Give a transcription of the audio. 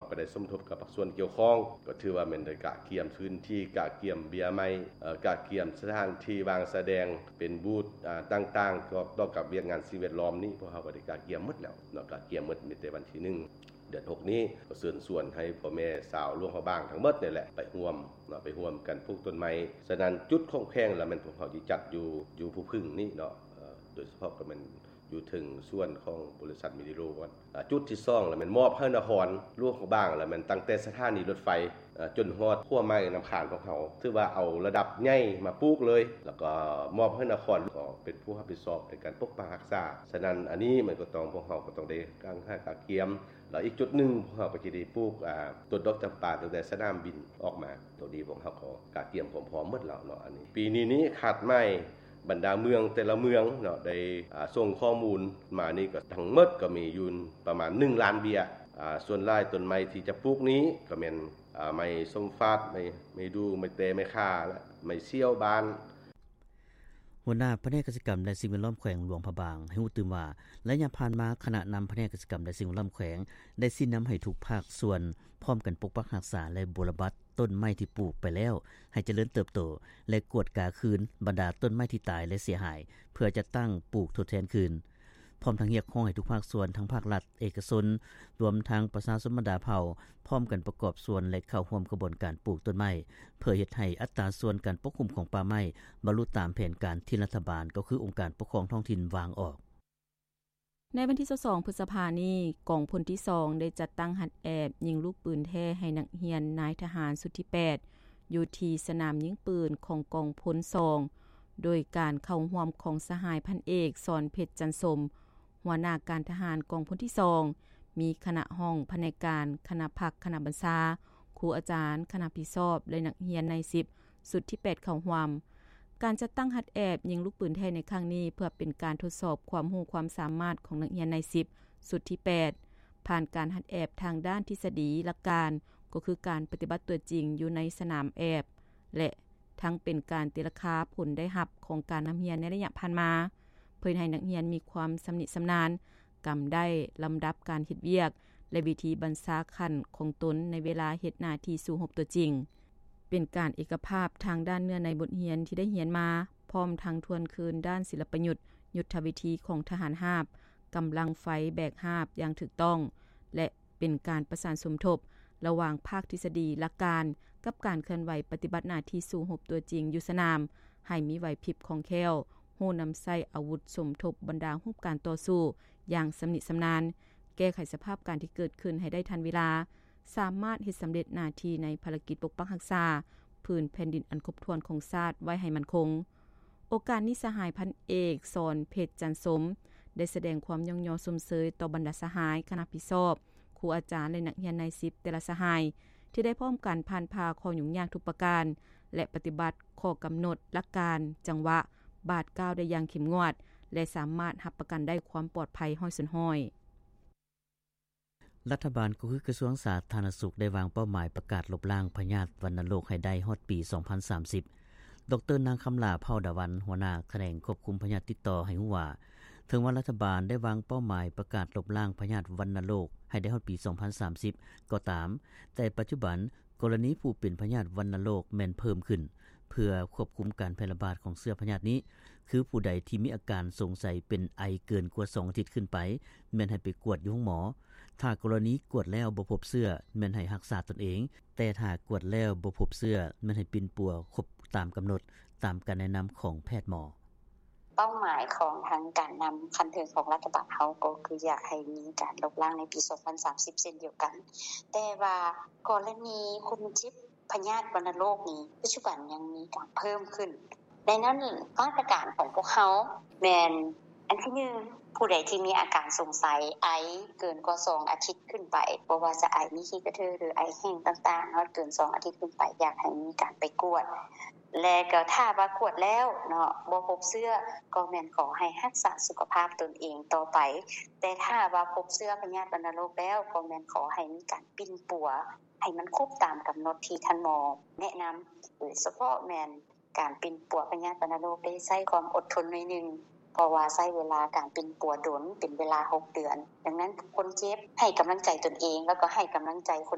ກໍໄດ້ສົມທົບກັບພາກສ່ວນກ່ຽວຂ້ອງ ກໍຖືວ່າແມ່ນໄດ້ກະກຽມພື້ນທີ່ ກະກຽມເບ້ຍໄມ້ ເອີ ກະກຽມສະຖານທີ່ວາງສະແດງ ເປັນບູດ ອາ ຕ່າງໆ ກໍຕໍ່ກັບວຽກງານສິ່ງແວດລ້ອມນີ້ ພວກເຮົາກໍໄດ້ກະກຽມໝົດແລ້ວເນາະ ກະກຽມໝົດ ມີແຕ່ວັນທີໜຶ່ງ ເດືອນຫົກນີ້ ກໍເຊີນຊວນໃຫ້ພໍ່ແມ່ຊາວຫຼວງພະບາງທັງໝົດນີ້ແຫຼະ ໄປຮ່ວມເນາະ ໄປຮ່ວມກັນປູກຕົ້ນໄມ້. ສະນັ້ນ ຈຸດຂອງແຂວງລະແມ່ນພວກເຮົາຊິຈັດຢູ່ ຢູ່ພູຜຶ່ງນີ້ເນາະ ເອີ ໂດຍສະເພາະກໍແມ່ນ ຢູ່ເທິງສວນຂອງບໍລິສັດເມດີໂລກ່ອນ. ອາ ຈຸດທີສອງລະແມ່ນມອບໃຫ້ນະຄອນຫຼວງພະບາງ ລະແມ່ນຕັ້ງແຕ່ສະຖານີລົດໄຟ ອາ ຈົນຮອດຂົວໄມ້ນ້ຳຄານຂອງເຮົາ ຖືວ່າເອົາລະດັບໃຫຍ່ມາປູກເລີຍ ລະກໍມອບໃຫ້ນະຄອນເປັນຜູ້ຮັບຜິດຊອບໃນການປົກປັກຮັກສາ. ສະນັ້ນ ອັນນີ້ມັນກໍຕ້ອງ ພວກເຮົາກໍຕ້ອງໄດ້ການຫາກາກຽມ ລະອີກຈຸດໜຶ່ງ ພວກເຮົາກໍຈະໄດ້ປູກ ອາ ຕົ້ນດອກຈຳປາຕັ້ງແຕ່ສະໜາມບິນອອກມາ. ໂຕນີ້ພວກເຮົາກໍກະກຽມຄວາມພ້ອມໝົດແລ້ວເນາະ. ອັນນີ້ ປີນີ້ນີ້ຄາດໝາຍ ບັນດາເມືອງແຕ່ລະເມືອງເນາະ ໄດ້ ອາ ສົ່ງຂໍ້ມູນມານີ້ ກໍທັງໝົດກໍມີຢູ່ປະມານໜຶ່ງລ້ານເບ້ຍ. ອາ ສ່ວນຫຼາຍຕົ້ນໄມ້ທີ່ຈະປູກນີ້ກໍແມ່ນ ອາ ໄມ້ສົ້ມຟາດ ໄມ້ ໄມ້ດູ່ ໄມ້ແຕ່ ໄມ້ຂ່າ ແລະ ໄມ້ສ່ຽວບ້ານ. ຫົວໜ້າພະແນກກະສິກຳ ແລະ ສິ່ງແວດລ້ອມແຂວງຫຼວງພະບາງ ໃຫ້ຮູ້ຕື່ມວ່າ ໄລຍະຜ່ານມາ ຄະນະນຳພະແນກກະສິກຳ ແລະ ສິ່ງແວດລ້ອມແຂວງ ໄດ້ຊີ້ນຳໃຫ້ທຸກພາກສ່ວນ ພ້ອມກັນປົກປັກຮັກສາ ແລະ ບົວລະບັດ ຕົ້ນໄມ້ທີ່ປູກໄປແລ້ວໃຫ້ຈະເລີນເຕີບໂຕ ແລະ ກວດກາຄືນບັນດາຕົ້ນໄມ້ທີ່ຕາຍ ແລະ ເສຍຫາຍ ເພື່ອຈັດຕັ້ງປູກທົດແທນຄືນ. ພ້ອມທັງຮຽກຮ້ອງໃຫ້ທຸກພາກສ່ວນ ທັງພາກລັດ, ເອກະຊົນ, ລວມທັງປະຊາຊົນບັນດາເຜົ່າ ພ້ອມກັນປະກອບສ່ວນ ແລະ ເຂົ້າຮ່ວມຂະບວນການປູກຕົ້ນໄມ້ ເພື່ອເຮັດໃຫ້ອັດຕາສ່ວນການປົກຄຸມຂອງປ່າໄມ້ ບັນລຸຕາມແຜນການທີ່ລັດຖະບານ ກໍຄືອົງການປົກຄອງທ້ອງຖິ່ນວາງອອກ. ໃນວັນທີຊາວສອງ ພຶດສະພານີ້, ກອງພົນທີສອງ ໄດ້ຈັດຕັ້ງຫັດແອບຍິງລູກປືນແທ້ໃຫ້ນັກຮຽນນາຍທະຫານຊຸດທີແປດ ຢູ່ທີ່ສະໜາມຍິງປືນຂອງກອງພົນສອງ ໂດຍການເຂົ້າຮ່ວມຂອງສະຫາຍພັນເອກ ສອນເພັດ ຈັນສົມ ຫົວໜ້າການທະຫານກອງພົນທີສອງ, ມີຄະນະຫ້ອງພະແນກການ, ຄະນະພັກ, ຄະນະບັນຊາ, ຄູອາຈານ, ຄະນະຮັບຜິດຊອບ ແລະ ນັກຮຽນນາຍສິບ ຊຸດທີແປດເຂົ້າຮ່ວມ. ການຈັດຕັ້ງຫັດແອບຍິງລູກປືນແທ້ໃນຄັ້ງນີ້ ເພື່ອເປັນການທົດສອບຄວາມຮູ້ຄວາມສາມາດຂອງນັກຮຽນນາຍສິບ ຊຸດທີແປດ ຜ່ານການຫັດແອບທາງດ້ານທິດສະດີ, ຫຼັກການ ກໍຄືການປະຕິບັດຕົວຈິງຢູ່ໃນສະໜາມແອບ ແລະ ທັງເປັນການຕີລາຄາຜົນໄດ້ຮັບຂອງການນຳຮຽນໃນໄລຍະຜ່ານມາ, ເພື່ອເຮັດໃຫ້ນັກຮຽນມີຄວາມຊຳນິຊຳນານ, ກຳໄດ້ລຳດັບການເຮັດວຽກ ແລະ ວິທີບັນຊາຂັ້ນຂອງຕົນໃນເວລາເຮັດໜ້າທີ່ສູ້ຮົບຕົວຈິງ. ເປັນການເອກະພາບທາງດ້ານເນື້ອໃນບົດຮຽນທີ່ໄດ້ຮຽນມາ, ພ້ອມທັງທວນຄືນດ້ານສິລະປະຍຸດ, ຍຸດທະວິທີຂອງທະຫານຮາບ, ກຳລັງໄຟແບກຫາບຢ່າງຖືກຕ້ອງ ແລະ ເປັນການປະສານສົມທົບລະຫວ່າງພາກທິດສະດີ, ຫຼັກການ ກັບການເຄື່ອນໄຫວປະຕິບັດໜ້າທີ່ສູ້ຮົບຕົວຈິງຢູ່ສະໜາມ ໃຫ້ມີໄຫວພິບຄ່ອງແຄ້ວ, ຮູ້ນຳໃຊ້ອາວຸດສົມທົບບັນດາຮູບການຕໍ່ສູ້ຢ່າງຊຳນິຊຳນານ, ແກ້ໄຂສະພາບການທີ່ເກີດຂຶ້ນໃຫ້ໄດ້ທັນເວລາ, ສາມາດເຮັດສຳເລັດໜ້າທີ່ໃນພາລະກິດປົກປັກຮັກສາ ພື້ນແຜ່ນດິນອັນຄົບຖ້ວນຂອງຊາດໄວ້ໃຫ້ໝັ້ນຄົງ. ໂອກາດນີ້ ສະຫາຍພັນເອກ ສອນເພັດ ຈັນສົມ ໄດ້ສະແດງຄວາມຍ້ອງຍໍຊົມເຊີຍຕໍ່ບັນດາສະຫາຍ, ຄະນະຮັບຜິດຊອບ, ຄູອາຈານ ແລະ ນັກຮຽນນາຍສິບແຕ່ລະສະຫາຍ ທີ່ໄດ້ພ້ອມກັນຜ່ານຜ່າຂໍ້ຫຍຸ້ງຍາກທຸກປະການ ແລະ ປະຕິບັດຂໍ້ກຳນົດ, ຫຼັກການ, ຈັງຫວະ, ບາດກ້າວໄດ້ຢ່າງເຂັ້ມງວດ ແລະ ສາມາດຮັບປະກັນໄດ້ຄວາມປອດໄພຮ້ອຍສ່ວນຮ້ອຍ. ລັດຖະບານ ກໍຄືກະຊວງສາທາລະນະສຸກ ໄດ້ວາງເປົ້າໝາຍປະກາດລົບລ້າງພະຍາດວັນນະໂລກໃຫ້ໄດ້ຮອດປີສອງພັນສາມສິບ. ດອກເຕີ ນາງ ຄຳຫຼ້າ ເຜົ່າດາວັນ ຫົວໜ້າຂະແໜງຄວບຄຸມພະຍາດຕິດຕໍ່ ໃຫ້ຮູ້ວ່າ ເຖິງວ່າລັດຖະບານໄດ້ວາງເປົ້າໝາຍປະກາດລົບລ້າງພະຍາດວັນນະໂລກໃຫ້ໄດ້ຮອດປີສອງພັນສາມສິບກໍຕາມ, ແຕ່ປັດຈຸບັນ ກໍລະນີຜູ້ເປັນພະຍາດວັນນະໂລກແມ່ນເພີ່ມຂຶ້ນ. ເພື່ອຄວບຄຸມການແຜ່ລະບາດຂອງເຊື້ອພະຍາດນີ້, ຄືຜູ້ໃດທີ່ມີອາການສົງໄສເປັນໄອເກີນກວ່າສອງອາທິດຂຶ້ນໄປ ແມ່ນໃຫ້ໄປກວດຢູ່ໂຮງໝໍ. ຖ້າກໍລະນີກວດແລ້ວບໍ່ພົບເຊື້ອ ແມ່ນໃຫ້ຮັກສາຕົນເອງ, ແຕ່ຖ້າກວດແລ້ວບໍ່ພົບເຊື້ອ ແມ່ນໃຫ້ປິ່ນປົວຄົບຕາມກຳນົດ, ຕາມການແນະນຳຂອງແພດໝໍ. ເປົ້າໝາຍຂອງທາງການນຳຂັ້ນເທິງຂອງລັດຖະບານເຮົາ ກໍຄືຢາກໃຫ້ມີການລົບລ້າງໃນປີສອງພັນສາມສິບເຊັ່ນດຽວກັນ. ແຕ່ວ່າກໍລະນີຄົນເຈັບພະຍາດວັນນະໂລກນີ້ ປັດຈຸບັນຍັງມີການເພີ່ມຂຶ້ນ. ໃນນັ້ນມາດຕະການຂອງພວກເຮົາແມ່ນ ອັນທີໜຶ່ງ ຜູ້ໃດທີ່ມີອາການສົງໄສໄອເກີນກວ່າສອງອາທິດຂຶ້ນໄປ, ບໍ່ວ່າຈະໄອມີຂີ້ກະເທີ ຫຼື ໄອແຫ້ງຕ່າງໆເນາະ ເກີນສອງອາທິດຂຶ້ນໄປ ຢາກໃຫ້ມີການໄປກວດ. ແລະ ກໍຖ້າວ່າກວດແລ້ວເນາະ ບໍ່ພົບເຊື້ອ ກໍແມ່ນຂໍໃຫ້ຮັກສາສຸຂະພາບຕົນເອງຕໍ່ໄປ. ແຕ່ຖ້າວ່າພົບເຊື້ອພະຍາດວັນນະໂລກແລ້ວ ກໍແມ່ນຂໍໃຫ້ມີການປິ່ນປົວ ໃຫ້ມັນຄົບຕາມກຳນົດທີ່ທ່ານໝໍແນະນຳ, ໂດຍສະເພາະແມ່ນການປິ່ນປົວພະຍາດວັນນະໂລກໄດ້ໃຊ້ຄວາມອົດທົນໜ້ອຍໜຶ່ງ, ເພາະວ່າໃຊ້ເວລາການປິ່ນປົວດົນ ເປັນເວລາຫົກເດືອນ. ດັ່ງນັ້ນ ຄົນເຈັບໃຫ້ກຳລັງໃຈຕົນເອງ ແລ້ວກໍໃຫ້ກຳລັງໃຈຄົນ